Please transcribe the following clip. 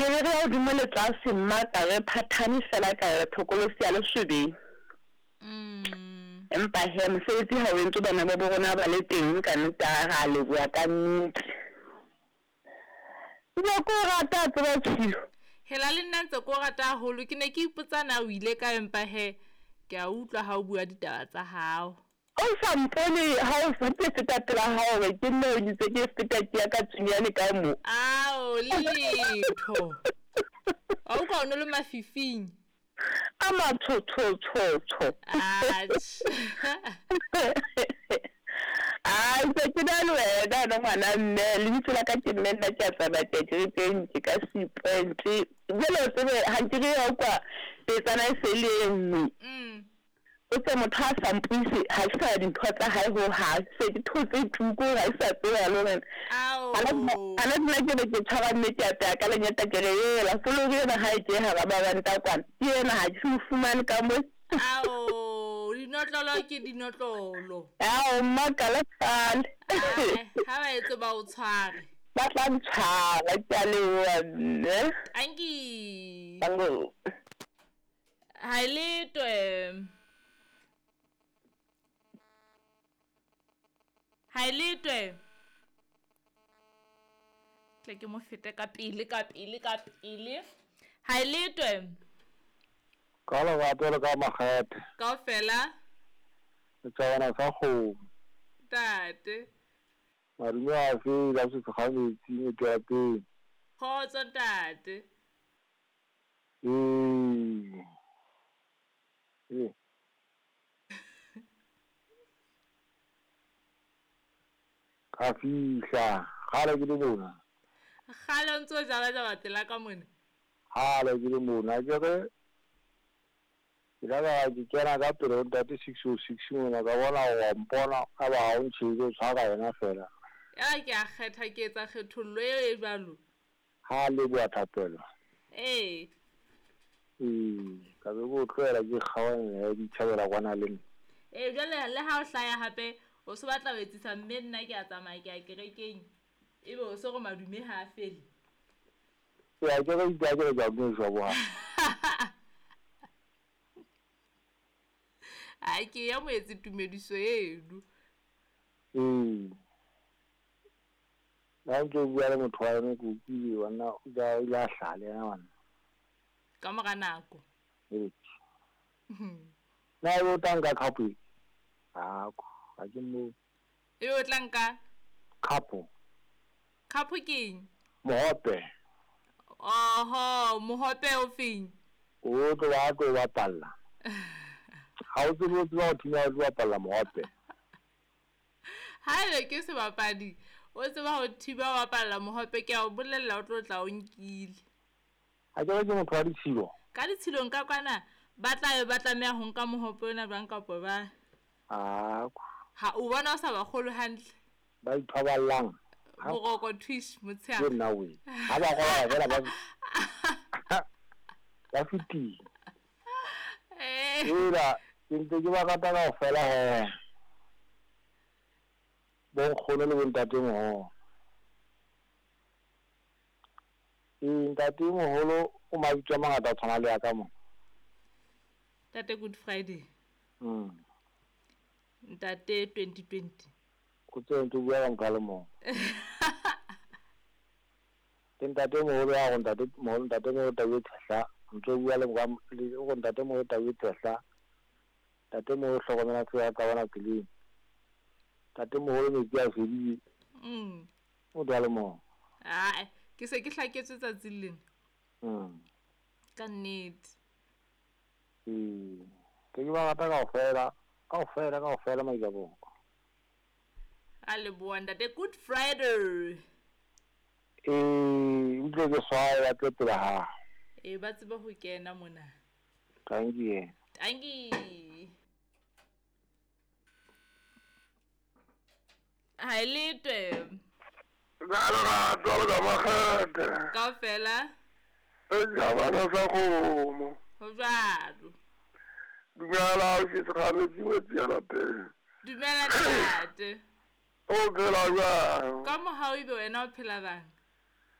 Re be re ya hodimo le tlase mma ka re phathane fela ka re thokolosi ya lesobeng. Empa he mosebetsi ha o entswe bana ba bo rona ba le teng ka nnete ra leboha ka nnete. Ke ko rata tseba tshilo. Hela le nna ntse ko rata haholo ke ne ke ipotsa na o ile ka empa he ke a utlwa ha o bua ditaba tsa hao. O sa mpone ha o sa ke feta pela hao be ke nne o ntse ke feta ke ya ka tsunyane ka mo. Ao letho. Wa utlwa o no le mafifing. A matshotshotshotsho. Atjhe. Ai se ke na le wena no ngwana mme lebitso la ka ke mme nna ke a tsamaya ke kerekeng ke ka sepoint. Jwale o tsebe ha nke re ya kwa petsana e se le e nngwe. O tse motho a sa mpuise ha ke sa dintho tsa hae ho hang se ke thotse tuko ha ke sa tseba le hore ana nna ke be ke tshwara mme ke apeya ka lenyata ke re ela folori ena ha e ke hara maranta kwana ke ena ha ke se fumane ka mo. Ao dinotlolo ke dinotlolo. Ao mmakala kgale. Ha ba etse ba o tshware. Ba tla ntshwara ke a leboha mme. Tanki. Tango. Ha e letwe. Ha e letwe. Tle ke mo fete ka pele ka pele ka pele. Ha e letwe. Ka lerato le ka makgethe. Kaofela. Setjhabana sa kgomo. Ntate. Madume a fela se ga metsi metsi ya teng. Kgotso ntate. Ee. Ee. Ka fihla kgale ke le mona. Kgale o ntso jaba jaba pela ka mona. Kgale ke le mona ke re ke la ka ke kena ka pele ho ntate 606 mona ka bona wa mpona a ba ha o ntjhebe o tshwara yena fela. Ya ke a kgetha ke etsa kgethollo eo e jwalo. Ha leboha thapelo. Ee. Ee, ka be ko tlohela ke kgaohanya ya dithabela kwana le nna. Ee, jwale le ha o hlaya hape o se batla ho etsisa mme nna ke a tsamaya ke ya kerekeng ebe o se re madume ha a fele. Ya ke re itse ke re ke a dumediswa boha. A ke ya moetse tumediso eno. Ee. Na ntse o bua le motho wa yone ke utlwile wanna o ile a hlaha le yena wanna. Ka mora nako. Ee. Na ebe o tla nka khapo e? Ako, ha ke mo. Ebe o tla nka? Khapo. Khapo ke eng? Mohope. Oho, mohope o feng? O tlo ba tlo bapalla. Ha o tsebe o tseba ho thinya o tlo bapalla mohope. Haebe ke sebapadi, o tseba ho thiba o bapalla mohope ke a o bolella o tlo tla o nkile. Ha ke re ke motho wa ditshilo. Ka ditshilong ka kwana ba tla be ba tlameha ho nka mohope ona jwang kapa ba. Ako. Ha o bona o sa ba kgolwe hantle. Ba ithoballang. Boroko twish motshehare. Ke nna we. Ha ba robala fela ba ba fetile. Eh. Ela ke ntse ke ba rata kaofela he. Bo nkgono le bo ntatemoholo. Ee, ntatemoholo o mabitso a mangata a tshwana le ya ka mo. Ntate Good Friday. Ntate 2020. O tse ntse bua ka motho a le mong. Ke ntatemoholo ya go ntatemoholo ntatemoholo tau e tshehla. Ntse bua le go ntatemoholo tau e tshehla. Ntatemoholo hlokomela tsela ya ka bona tseleng. Ntatemoholo metsi a fedile. Motho a le mong. Ae, ke se ke hlaketswe tsatsing lena. Ka nnete. Ee, ke ba rata kaofela, kaofela kaofela maikaboko. A leboha ntate Good Friday. Ee, utlwe ke swaye ba tle pele ha. Ee, ba tsebe ho kena mona. Thank you. Thank you. Ha e letwe. Ka lerato le ka makgethe. Kaofela. Setjhabana sa kgomo. Ho jwalo. Dumela ke se metsi ya lapeng. Dumela ntate. O phela jwang? Ka mohau ebe wena o phela bang?